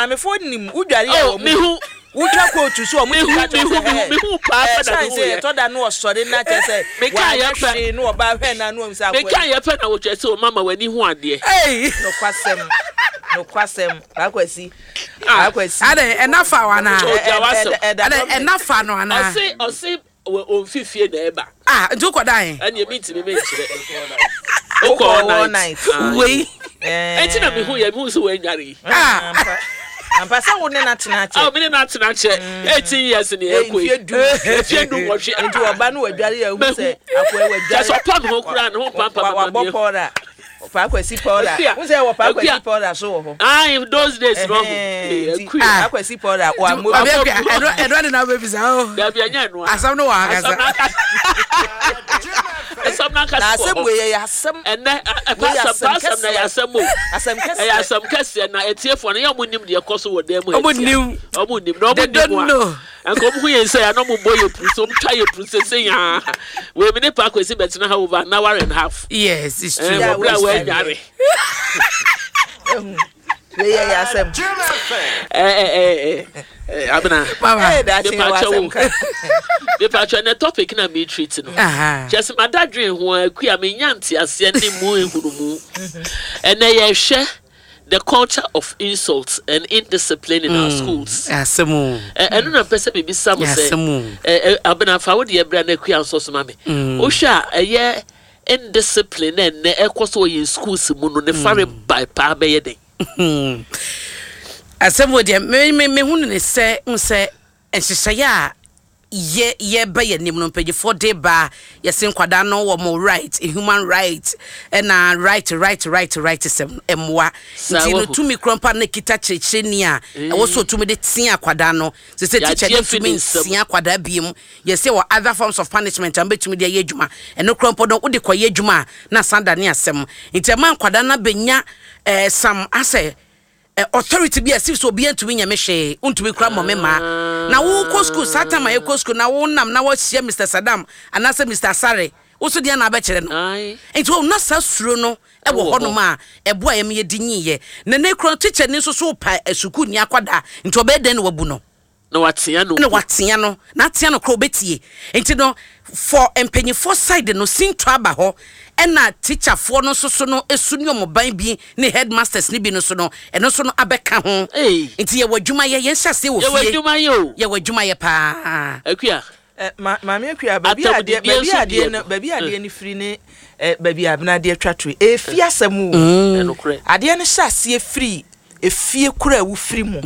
Maamefoɔ nim wodware a Oh, wɔn mehu. Wotwa kootu so a wɔn Mehu, ti ka kyerɛ mehu, sɛ mehu, ɛɛ mehu paa ɛɛ pɛ na san mehu sɛ yɛ. ɛtɔ da no ɔsɔre na kyerɛ sɛ Meka wanyɛ yɛ pɛ. hwee na ɔbaa hwɛ na ano sɛ akɔa Meka yi. yɛ pɛ na wɔkyerɛ sɛ o mama w'ani hu adeɛ. Ei! Nokwasɛm, nokwasɛm, Paa Kwasi, Ah. Paa Kwasi. Adɛn, ɛna fa wo anaa? Oh, gya w'asɛm. Ɛda Adɛn, dɔm ne. ɛna fa no anaa? Ɔse, ɔse wɔ ɔmfi fie na ɛba. Ah, nti wokɔ da he? Ɛneɛ mentumi menkyerɛ. Wokɔ Wokɔ all all night. night. Ah, Wei. Ɛnti na mehu yɛ, mehu sɛ wɔanware yi. Ah. Ampa, ampa sɛ wo ne no atena akyɛ. Ah, me ne no atena akyɛ 18 years ne ɛkɔ yi. Mfie 10. Mfie 18. Nti ɔba no wadware yɛ hu sɛ akoa wadware. Kyɛ sɛ ɔpa ne ho koraa ne ho pampa mama Wabɔ mi. pɔra. Paa Kwasi pɔra. Akua. Wo sɛ wɔ Paa Kwasi Akua. pɔra so wɔ hɔ. Ah, those days no. Ɛhɛn, nti Akua. Paa Kwasi pɔra wammɔ Maame bi. Akua, ɛno de na wobɛbisa o. Dabi ɛnyɛ ɛno a. Asɛm no wɔ ankasa. Asɛm no ankasa. Asɛm no ankasa Na wɔ asɛm hɔ. wei yɛ asɛm. Ɛnɛ ɛpa Wei yɛ asɛm pa asɛm asɛm na ɛyɛ kɛseɛ. asɛm o. Asɛm Ɛyɛ kɛseɛ. asɛm kɛseɛ na etiefoɔ no yɛ ɔmo nim deɛ ɛkɔ so wɔ dan mu ha Ɔmo tia. nim. Ɔmo nim na ɔmo They nim don't a. know. Nka ɔmo hu yɛn sɛ ya na ɔmo bɔ yɛ puru sɛ ɔmo twa yɛ puru sɛ yaa. Wei mi ne Paa Kwesi bɛtena ha over an hour and a half. Yes, it's true. Ɛɛ Yeah, wɔ bere a waste time. wɔadware. Ehu. Wei yɛ asɛm. Ɛɛ ɛɛ ɛɛ Abena. Mama. Ɛyɛ daakye yɛ wɔ Mepakyɛ asɛm wo. ka. Mepakyɛ ne topic na me treat no. Aha. Kyerɛ sɛ mada dwen ho a akua menya nteaseɛ ne mu ehunumu. Ɛnɛ yɛhwɛ the culture of insults and indiscipline in our schools. Asɛm o. Ɛno na mpɛ sɛ mebisa mo sɛ Asɛm o. ɛ ɛ Abena, fa wo deɛ bra na akua nso so ma me. Wohwɛ a ɛyɛ indiscipline na ɛnɛ ɛkɔ so wɔ yɛn schools mu no ne fare bae paa bɛyɛ den? Asɛm wɔ deɛ me mehu no ne sɛ n sɛ nhyehyɛeɛ a yɛ yɛba yɛn anim no, mpanyinfoɔ de ba, yɛse nkwadaa no wɔ mo right, human right, ɛna right, right, right, right sɛm mmoa. Saa nti no wahu. tumi kura mpa na kita kyerɛkyerɛni a ɛwɔ so otumi de tea akwadaa no sɛ teacher Yɛagye ne afi ntumi ne nsam. ntea akwadaa biem. Yɛsɛ wɔ other forms of punishment a mbɛtumi de ayɛ adwuma. Ɛno kura mpo no, wode kɔyɛ adwuma a na san da ne asɛm. Nti ɛma nkwadaa no abɛnya some asɛ authority bi a si so obiara ntumi nyɛ me hwee, ntumi kura mmɔ me mmaa. Na wokɔ school saa time a yɛkɔ school na wonam na wahyia Mr Saddam anaasɛ Mr Asare, wo so deɛ na abɛkyerɛ no. Nti wɔn na saa suro no ɛwɔ Ɛwɔ hɔ. hɔnom a ɛboa yɛn yɛdi nyiiɛ. Na ne kura teacher ni nso so pa sukuu ni akwadaa, nti ɔbɛyɛ dɛn na wabu no? Na watea no na mpo. Watea no na atea no kora obɛtie. Nti no for mpanyinfoɔ side no sinto aba hɔ, ɛna teacherfoɔ no nso so no esu ne ɔmo ban bi ne headmasters ne bi no so no ɛno nso no abɛka ho. Ei. Nti yɛwɔ adwuma yɛ, yɛn hyɛ aseɛ wɔ Yɛwɔ fie. adwuma yɛ o. Yɛwɔ adwuma yɛ paa. Akua. Maame Akua, baabi a adeɛ Atamdidie baabi nso a adeɛ deɛ no no. Baabi a adeɛ no firi ne baabi a Abena adeɛ twa to yi, efi asɛm o. Ɛnokorɛ. Adeɛ no hyɛ aseɛ firi efie koro a wofiri mu.